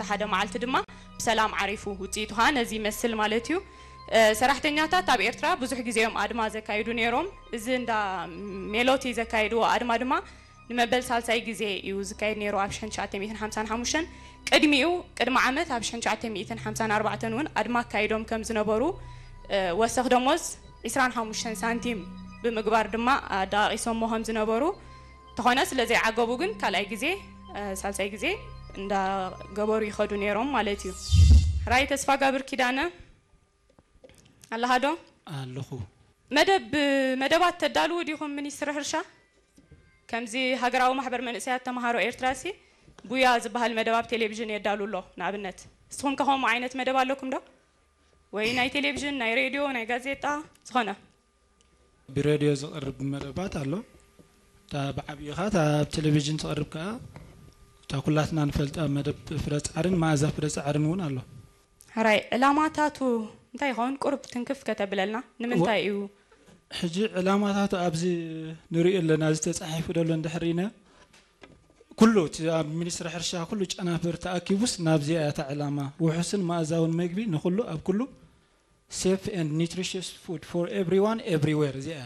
ሓደ መዓልቲ ድማ ብሰላም ዓሪፉ። ውፅኢቱ ከዓ ነዚ ይመስል ማለት እዩ። ሰራሕተኛታት ኣብ ኤርትራ ብዙሕ ግዜ እዮም ኣድማ ዘካይዱ ነይሮም። እዚ እንዳ ሜሎቲ ዘካየድዎ ኣድማ ድማ ንመበል ሳልሳይ ግዜ እዩ ዝካየድ ነይሩ ኣብ ሽሕን ትሽዓተ ሚእትን ሓምሳን ሓሙሽተን። ቅድሚኡ ቅድሚ ዓመት ኣብ ሽሕን ትሽዓተ ሚእትን ሓምሳን ኣርባዕተን እውን ኣድማ ኣካይዶም ከም ዝነበሩ ወሰኽ ደሞዝ ዕስራን ሓሙሽተን ሳንቲም ብምግባር ድማ ኣደቓቒሶሞ ከም ዝነበሩ፣ ተኾነ ስለ ዘይዓገቡ ግን ካልኣይ ግዜ ሳልሳይ ግዜ እንዳገበሩ ይኸዱ ነይሮም ማለት እዩ። ራይ ተስፋ ጋብር ኪዳነ ኣለኻ ዶ? ኣለኹ። መደብ መደባት ተዳልዉ ዲኹም ሚኒስትሪ ሕርሻ? ከምዚ ሃገራዊ ማሕበር መንእሰያት ተምሃሮ ኤርትራ ሲ ጉያ ዝበሃል መደብ ኣብ ቴሌቪዥን የዳሉ ኣሎ። ንኣብነት ንስኹም ከ ከምኡ ዓይነት መደብ ኣለኩም ዶ? ወይ ናይ ቴሌቪዥን፣ ናይ ሬድዮ፣ ናይ ጋዜጣ ዝኾነ? ብሬድዮ ዝቐርብ መደባት ኣሎ። እታ ብዓብይኻ እታ ኣብ ቴሌቪዥን ትቐርብ ከኣ እታ ኩላትና ንፈልጣ መደብ ፍረ ጻዕርን መኣዛ ፍረ ጻዕርን እውን ኣሎ። ሕራይ ዕላማታቱ እንታይ ይኸውን? ቁሩብ ትንክፍ ከተብለልና ንምንታይ እዩ? ሕጂ ዕላማታቱ ኣብዚ ንሪኦ ኣለና፣ እዚ ተጻሒፉ ደሎ እንድሕር ኢና ኩሉ እቲ ኣብ ሚኒስትሪ ሕርሻ ኩሉ ጨናፍር ተኣኪቡስ ናብዚኣ እያ እታ ዕላማ፣ ውሑስን መኣዛውን መግቢ ንኹሉ ኣብ ኩሉ፣ safe and nutritious food for everyone everywhere፣ እዚኣ እያ።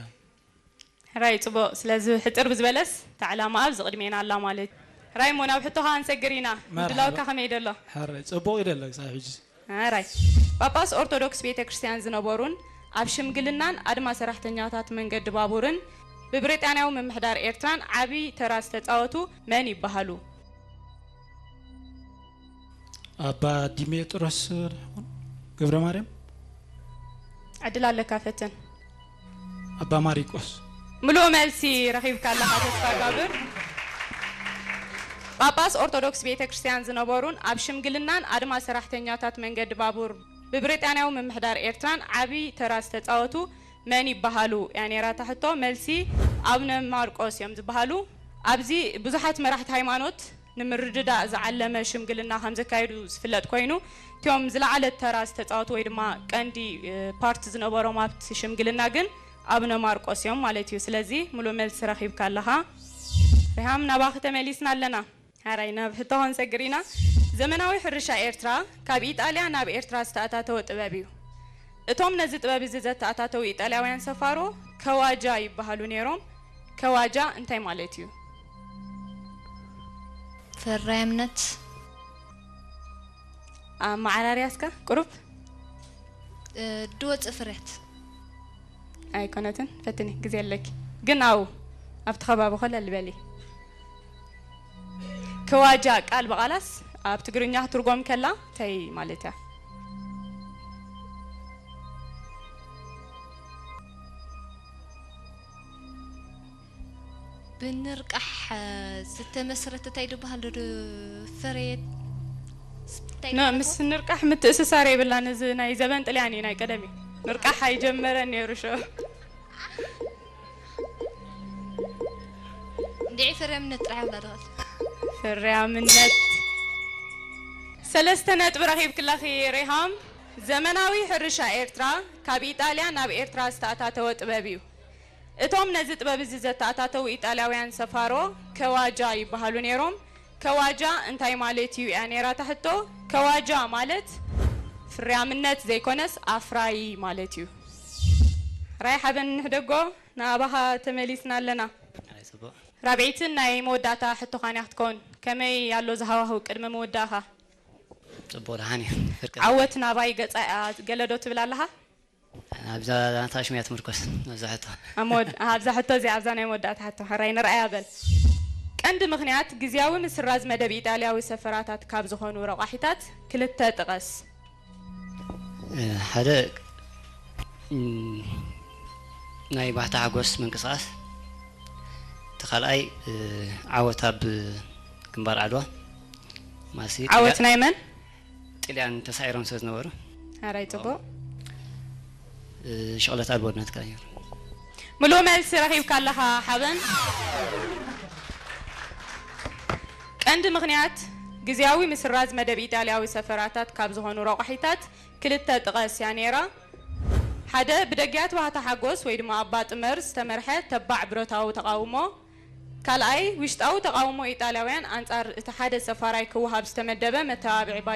ሕራይ ጽቡቕ። ስለዚ ሕጽር ብዝበለስ እታ ዕላማ ኣብዚ ቅድሜና ኣላ ማለት እዩ። ሕራይ እሞ ናብ ሕቶኻ ክንሰግር ኢና። መርሓባ። ምድላውካ ከመይ ደሎ? ሕራይ ጽቡቕ እዩ ደሎ ክሳብ ሕጂ። ሕራይ ጳጳስ ኦርቶዶክስ ቤተ ክርስቲያን ዝነበሩን ኣብ ሽምግልናን ኣድማ ሰራሕተኛታት መንገዲ ባቡርን ብብሪጣንያዊ ምምሕዳር ኤርትራን ዓቢ ተራ ዝተጻወቱ መን ይበሃሉ? ኣባ ዲሜጥሮስ ይኾን? ገብረ ማርያም። ዕድል ኣለካ ፈትን። ኣባ ማሪቆስ። ምሉእ መልሲ ረኺብካ ኣለኻ ተስፋ ጋብር። ጳጳስ ኦርቶዶክስ ቤተ ክርስቲያን ዝነበሩን ኣብ ሽምግልናን ኣድማ ሰራሕተኛታት መንገዲ ባቡር ብብሪጣንያዊ ምምሕዳር ኤርትራን ዓቢ ተራ ዝተጻወቱ መን ይበሃሉ እያ ነይራ እታ ሕቶ። መልሲ ኣቡነ ማርቆስ እዮም ዝበሃሉ። ኣብዚ ብዙሓት መራሕቲ ሃይማኖት ንምርድዳእ ዝዓለመ ሽምግልና ከም ዘካየዱ ዝፍለጥ ኮይኑ፣ እቲኦም ዝለዓለ ተራ ዝተጻወቱ ወይ ድማ ቀንዲ ፓርት ዝነበሮም ኣብቲ ሽምግልና ግን ኣቡነ ማርቆስ እዮም ማለት እዩ። ስለዚ ሙሉእ መልሲ ረኺብካ ኣለኻ። ሪሃም ናባኺ ተመሊስና ኣለና። ሓራይ ናብ ሕቶ ክንሰግር ኢና። ዘመናዊ ሕርሻ ኤርትራ ካብ ኢጣልያ ናብ ኤርትራ ዝተኣታተወ ጥበብ እዩ። እቶም ነዚ ጥበብ እዚ ዘተኣታተዉ ኢጣልያውያን ሰፋሮ ከዋጃ ይበሃሉ ነይሮም። ከዋጃ እንታይ ማለት እዩ? ፈራያምነት ኣመዓራርያ እስከ ቁሩብ ድወፅእ ፍርያት ኣይኮነትን። ፈትኒ ግዜ ኣለኪ ግን ኣው ኣብቲ ከባቢ ኮለል በሊ። ከዋጃ ቃል ብቓላስ ኣብ ትግርኛ ክትርጎም ከላ እንታይ ማለት እያ? ብንርቃሕ ዝተመስረተ እንታይ ዝበሃል ዶ ፍርያት እንታይ ኖ ምስ ንርቃሕ ምትእስሳር የብላን። እዚ ናይ ዘበን ጥልያን እዩ ናይ ቀደም እዩ። ንርቃሕ ኣይጀመረን ነይሩ ሸ እንዲዒ ፍርያምነት ጥራሕ ይብላ ደኸል ፍርያምነት ሰለስተ ነጥቢ ረኺብክለኺ ሪሃም። ዘመናዊ ሕርሻ ኤርትራ ካብ ኢጣልያ ናብ ኤርትራ ዝተኣታተወ ጥበብ እዩ። እቶም ነዚ ጥበብ እዚ ዘተኣታተዉ ኢጣልያውያን ሰፋሮ ከዋጃ ይበሃሉ ነይሮም። ከዋጃ እንታይ ማለት እዩ እያ ነይራ እታ ሕቶ። ከዋጃ ማለት ፍርያምነት ዘይኮነስ ኣፍራዪ ማለት እዩ። ራይ ሓበን ንሕደጎ ንኣባኻ ተመሊስና ኣለና። ኣይ ጽቡቕ ራብዒትን ናይ መወዳእታ ሕቶኻን እያ ክትከውን። ከመይ ኣሎ ዝሃዋህው ቅድሚ ምውዳእኻ? ጽቡቕ ደሓን እዩ። ፍርቂ ዓወት ናባይ ገጻ እያ ገለዶ ትብል ኣለኻ? ኣብዛ ናታ ሽሙያ ትምርኮስ ኣብዛ ሕቶ ኣብ መወድ- ኣብዛ ሕቶ እዚኣ ኣብዛ ናይ መወዳእታ ሕቶ ሕራይ ንርኣያ በል። ቀንዲ ምኽንያት ግዝያዊ ምስራዝ መደብ ኢጣልያዊ ሰፈራታት ካብ ዝኾኑ ረቋሒታት ክልተ ጥቀስ። ሓደ እም፣ ናይ ባህታ ሓጎስ ምንቅስቃስ፣ እቲ ካልኣይ እ፣ ዓወት ኣብ ግንባር ዓድዋ ማሲ ዓወት ናይ መን? ጥልያን ተሳዒሮም ስለ ዝነበሩ ሕራይ ጽቡቕ። እ፣ ሽቕለት ኣልቦነት ከኣ ነይሩ። ምሉእ መልሲ ረኺብካ ኣለኻ ሓበን። ቀንዲ ምኽንያት ግዝያዊ ምስራዝ መደብ ኢጣልያዊ ሰፈራታት ካብ ዝኾኑ ረቋሒታት ክልተ ጥቀስ እያ ነይራ። ሓደ ብደጊያት ባህታ ሓጎስ ወይ ድማ ኣባ ጥመር ዝተመርሐ ተባዕ ብረታዊ ተቓውሞ፣ ካልኣይ ውሽጣዊ ተቓውሞ ኢጣልያውያን ኣንጻር እቲ ሓደ ሰፋራይ ክወሃብ ዝተመደበ መተባብዒ ባጀት፣